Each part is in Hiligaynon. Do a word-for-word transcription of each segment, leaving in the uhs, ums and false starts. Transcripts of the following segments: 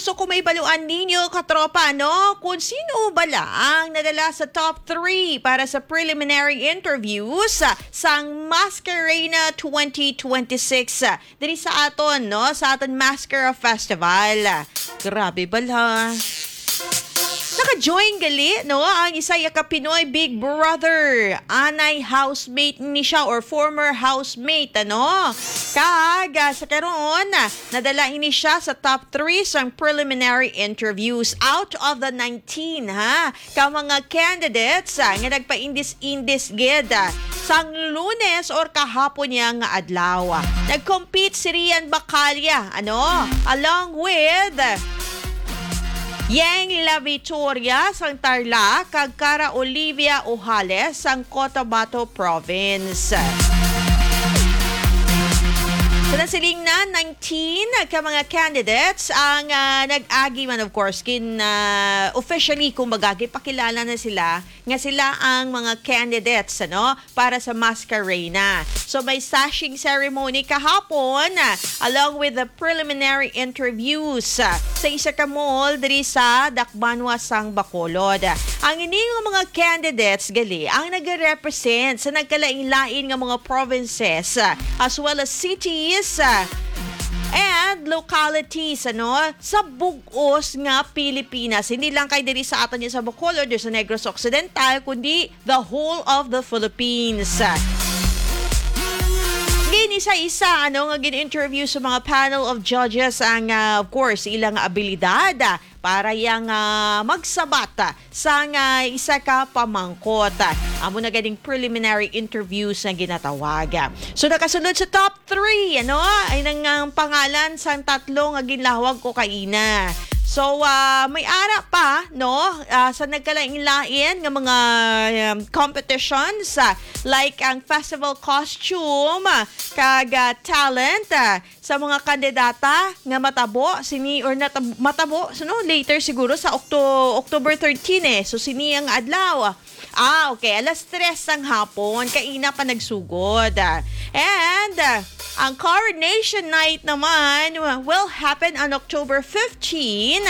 So, kung may baluan ninyo, katropa, no, kung sino bala ang nadala sa top three para sa preliminary interviews, ah, sang Masquerena twenty twenty-six, ah, diri sa aton, no, sa aton Mascara Festival. Grabe bala. Naka-join gali, no, ang isa ya ka Pinoy Big Brother. Anay housemate ni siya or former housemate, ano? Kag, ah, sa karon, ah, nadala ini siya sa top three sang preliminary interviews out of the nineteen, ha, ka mga candidates, ah, nga nagpaindis-indis gid, ah, sang Lunes or kahapon niya nga adlaw. Nag-compete si Rian Bacalia, ano, along with Yeng La Victoria sang Tarlac kag Cara Olivia Ojales sang Cotabato Province. Sa nasiling na, nineteen ka mga candidates ang, ah, nag-agi man, of course, kin, ah, officially, kumbaga, gipakilala na sila nga sila ang mga candidates, ano, para sa Masquerena. So, may sashing ceremony kahapon, ah, along with the preliminary interviews, ah, sa isa ka mall diri sa Dakbanwa sang Bacolod. Ang ini nga mga candidates gali ang nagarepresent sa nagkalain-lain nga mga provinces, ah, as well as cities, ah, and localities, ano, sa bug-os nga Pilipinas. Hindi lang kay diri sa aton sa Bacolod or sa Negros Occidental, kundi the whole of the Philippines. Gini sa isa, ano, nga gin-interview sa mga panel of judges ang, ah, of course, ilang abilidad, ah, para yang, ah, magsabat, ah, sang, ah, isa ka pamangkot. Amo na ganing preliminary interviews nga ginatawag. So, nakasulod sa top three, ano, ay nang, ang pangalan sang tatlo nga ginlahwag ko kaina. So, ah, may ara pa, no, ah, sa nagkalain-lain nga mga, um, competitions, ah, like ang festival costume, ah, kag, ah, talent, ah, sa mga kandidata nga matabo sini or natab-, matabo, so, no, later siguro sa Octo-, October thirteen, eh. So, sini ang adlaw. Ah, okay. Alas tres sang hapon, kaina pa nagsugod. And, uh, ang coronation night naman will happen on October fifteen.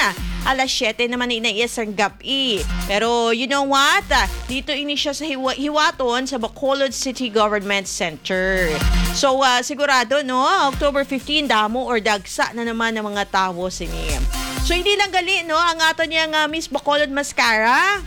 Alas siyete naman na inaiya sang gab-i. Pero you know what? Ah, dito ini siya sa hiwa-, hiwaton sa Bacolod City Government Center. So, ah, sigurado, no, October fifteen, damo or dagsa na naman ang mga tawo sini. So, hindi lang gali, no, ang aton yang, ah, Miss Bacolod Mascara,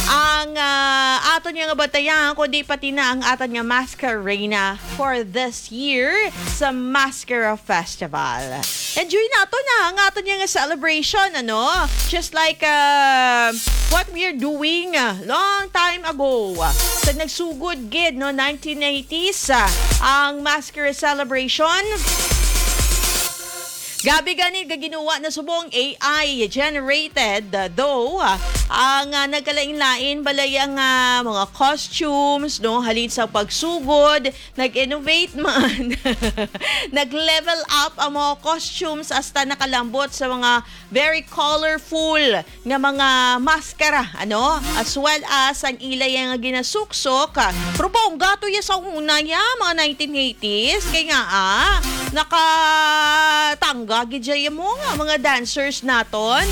ang, ah, aton yang batayan, kundi pati na ang aton nga Masquerena for this year sa Mascara Festival. Enjoy nato na ang aton yang celebration, ano? Just like, ah, what we are doing, ah, long time ago. Sa nagsugod gid, no, nineteen eighties, ah, ang Mascara Celebration. Gabi gani, gaginuwa na subong A I generated, though, ah, ang, ah, nagkalain-lain balay ang, ah, mga costumes, no, halin sa pagsugod, nag-innovate man, nag-level up ang mga costumes, hasta nakalambot sa mga very colorful nga mga maskara, ano? As well as ang ila ya nga ginasuksok. Pero bongga to ya sa una ya, mga nineteen eighties. Kay nga, ah, nakatangga gid ya mo nga mga dancers naton.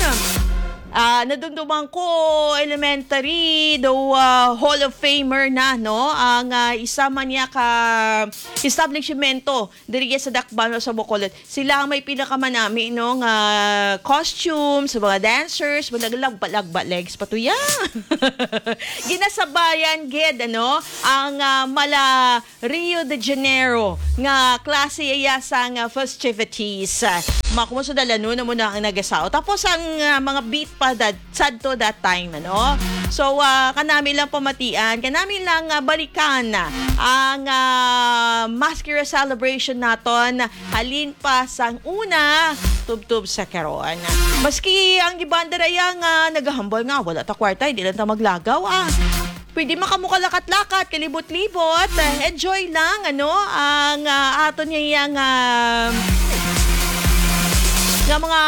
Ah, nadumduman ko, elementary, daw, ah, Hall of Famer na, no? Ang, ah, isa man niya ka establishmento diri sa Dakbayan sa Bacolod. Sila ang may pinakamanami, no, nga costume sa mga dancers, mga naglagba-lagba legs pa to ya. Ginasabayan gid, ano, ang, ah, mala Rio de Janeiro nga klase iya sang, ah, festivities. Makumusta dalano na mo na ang nagasao. Tapos ang, ah, mga beat pa that sadto that time, ano? So, ah, kanami lang pamatian, kanami lang, ah, balikan ang, ah, Mascara celebration naton, halin pa sang una tubtob sa karon. Maski ang iban dira ya nga nagahambal nga wala ta kwarta, hindi lang ta maglagaw, ah. Pwede man kamo kalakat-lakat, kalibot-libot. Enjoy lang, ano, ang, ah, aton nga, ah, nga mga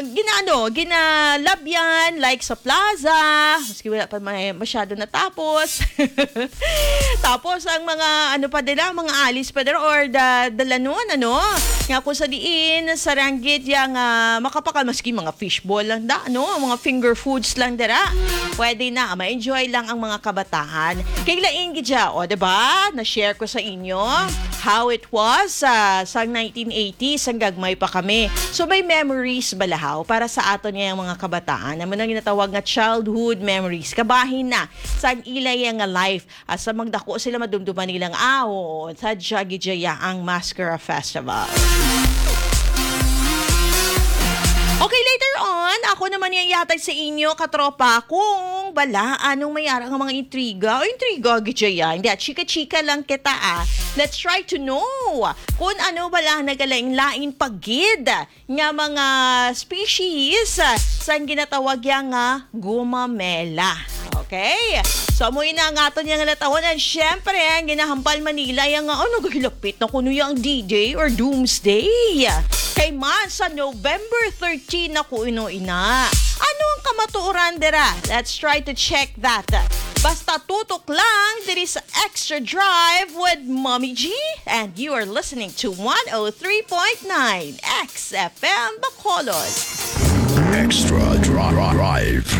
ginaano, ginalabyan, like sa plaza, maski wala pa may masyado natapos. Tapos ang mga ano pa dira, mga alis pa dira or da, dalanon, ano, nga kung sa diin, sa ranggit yang ah, makapakal, maski mga fishball lang da, ano, mga finger foods lang dira. Pwede na, ma-enjoy lang ang mga kabataan. Kay lain gid siya, o, diba? Na-share ko sa inyo how it was sa sang nineteen eighties, sang gagmay pa kami. So, may memories balahaw para sa aton nga mga kabataan. Amo nang ginatawag nga childhood memories. Kabahin na sang ila ya nga life. Asa magdako sila, madumduman nila nga, ah, oo, sadya gid ya ang Mascara Festival. Okay, later on, ako naman yang yatag sa inyo, katropa, kung bala anong may ara nga mga intriga. O, intriga gid ya. Hindi, ah, chika-chika lang kita, ah. Let's try to know kung ano bala nagalain-lain pa gid nga mga species, ah, sang ginatawag ya nga gumamela. Okay? So, amo na ang aton yang latawonan. Siyempre, ang ginahambal man nila ya nga, oh, nagahilapit na kuno yang D-Day or Doomsday. Kay man, sa November thirteen na kuno ina. Ano ang kamatuoran dira? Let's try to check that. Basta tutok lang diri sa Extra Drive with Mommy G, and you are listening to one oh three point nine X F M Bacolod. Extra Drive.